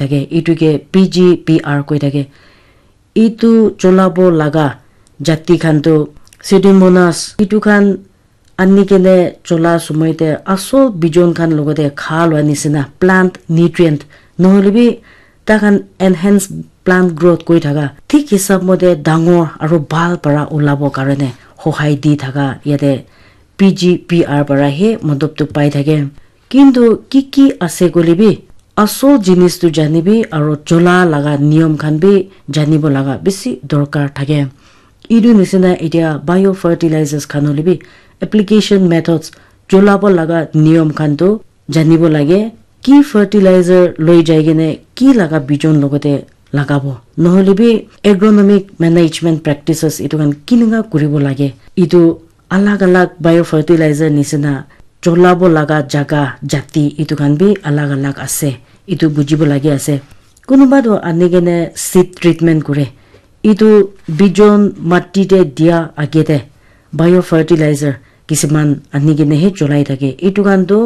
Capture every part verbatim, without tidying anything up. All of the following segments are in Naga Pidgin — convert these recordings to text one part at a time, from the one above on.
thake, etu ke P G P R koi thake. Etu cholabo laga jati khan tu Pseudomonas, etu khan ani kene chola sumoi te asol bijon khan logote kha lua nisina plant nutrient nohole bi ta khan enhance plant growth koi thaka thik hisab mote dangor aro bhal para ulabo karone hohai di thaka yate P G P R para he modop tu pai thake. Kintu ki ki ase koile bi asol jinis tu janibi aro chola laga niyom khan bi janibo laga bisi dorkar thake. Etu nisina etia biofertilizers khan hoile bi application methods cholabo laga niyom khan tu janibo lage. Ki fertilizer loi jai kene ki laga bijon logote lagabo. Nohole bi agronomic management practices etu khan kinenga kuribo lage. Etu alag alag biofertilizer nisina cholabo laga jaga jati etu khan bi alag alag ase. Etu bujibo lage ase. Kunuba tu ani kene seed treatment kure. Etu bijon mati te dia age te biofertilizer kisiman ani kene he cholai thake. Etu khan tu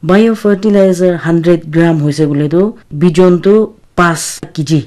biofertilizer hundred gram hoise koile tu bijon tu pas kg.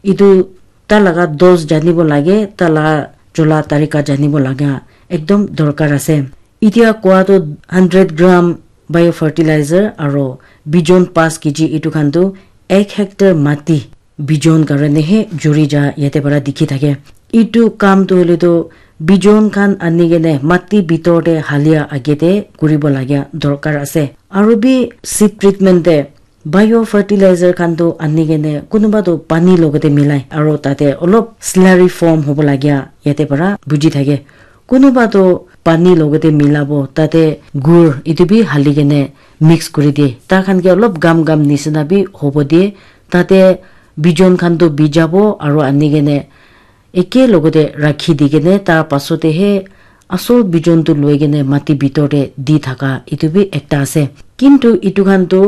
Etu ta laga dose janibo lage, ta la chola tarika janibo laga ekdom dorkar ase. Etia koa tu hundred gram biofertilizer aro bijon pas kg etu khan tu ek hectare mati bijon karone he juri ja yate para dikhi thake. Etu kam tu hoile tu bijon khan ani kene mati bitor te halia age te kuribo lagia dorkar ase. Aro bi seed treatment te biofertilizer khan tu ani kene kunuba tu pani logote milai aro tate olop slurry form hobo lagia yate para buji thake. Kunuba tu pani logote milabo tate gur etu bi hali kene mix kuri de. Ta khan ke olop gam gam nisina bi hobo de. Tate bijon khan tu bijabo aro ani kene eke logote rakhi di kene tar pasote he asol bijon tu loi kene mati bitor te di thaka etu bi ekta ase. Kintu etu khan tu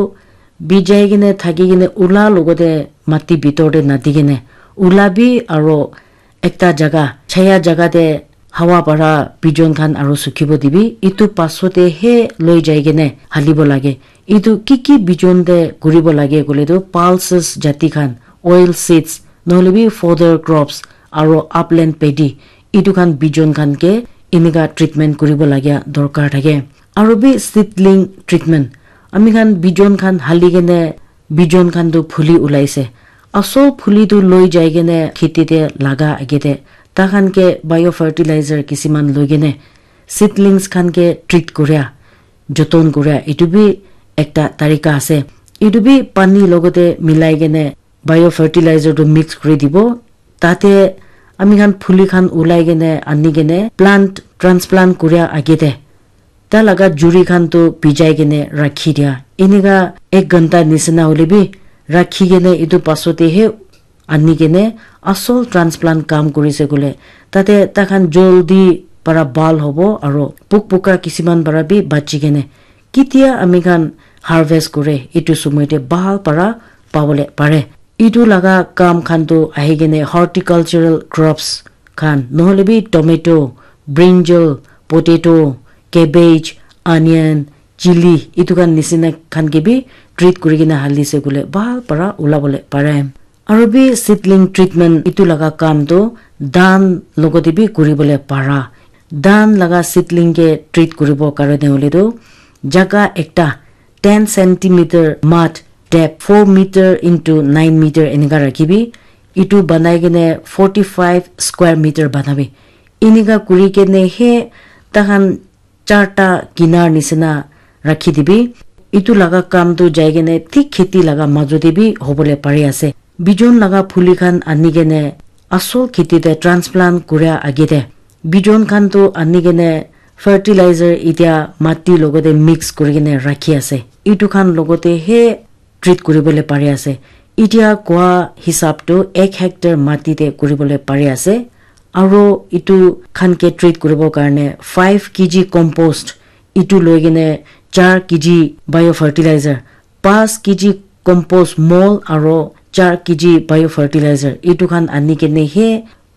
bijai kene thaki kene ula logote mati bitor te nadi kene ula bi aro ekta jaga chaya jaga te hawa para bijon khan aro sukhibo dibi etu pasote he loi jai kene halibo lage. Etu ki ki bijon te kuribo lage koile tu pulses jati khan, oil seeds, nohole bi fodder crops aro upland paddy etu khan bijon khan ke enika treatment kuribo lagia dorkar thake. Aro bi seedling treatment ami khan bijon khan hali kene bijon khan tu phuli ulaise. Asol phuli tu loi jai kene kheti te laga age te ta khan ke biofertilizer kisiman loi kene seedlings khan ke treat kuria, joton kuria etu bi ekta tarika ase. Etu bi pani logote milai kene biofertilizer tu mix kuri dibo. Tate ami khan phuli khan ulai kene ani kene plant transplant kuria age te ta laga juri khan tu bijai kene rakhi dia. Enika ek ghanta nisina hoile bi rakhi kene etu pasote he ani kene asol transplant kam kurise koile tate ta khan joldi para bhal hobo aro puk puka kisiman para bi bachi kene ketia ami khan harvest kure etu sumoi te bhal para pabole pare. Etu laga kam khan tu ahi kene horticultural crops khan nohole bi tomato, brinjal, potato, cabbage, onion, chili etu khan nisina khan ke bi treat kuri kena halise koile bhal para ulabole pare. Aro bi seedling treatment etu laga kam tu dhan logote bi kuribole para. Dhan laga seedling ke treat kuribo karone hoile tu jaga ekta ten centimeter mud depth four meter into nine meter enika rakhibi. Etu banai kene forty five square meter banabi. Enika kuri kene he tahan charta kinar nisina rakhi dibi. Etu laga kam tu jai kene thik kheti laga majo te bi hobole pari ase. Bijon laga phuli khan ani kene asol kheti te transplant kuria age te bijon khan tu ani kene fertilizer etia mati logote mix kuri kene rakhi ase. Etu khan logote he treat kuribole pari ase. Etia koa hisab tu ek hectare mati te kuribole pari ase. Aro etu khan ke treat kuribo karne five kg compost etu loi kene char kg biofertilizer, pas kg compost mol aro char kg biofertilizer etu khan ani kene he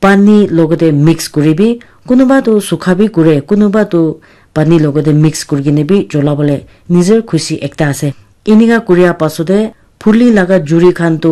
pani logote mix kuribi. Kunuba tu sukha bi kure, kunuba tu pani logote mix kuri kene bi cholabole nijer khushi ekta ase. Enika kuria pasote Holi laga juri khan tu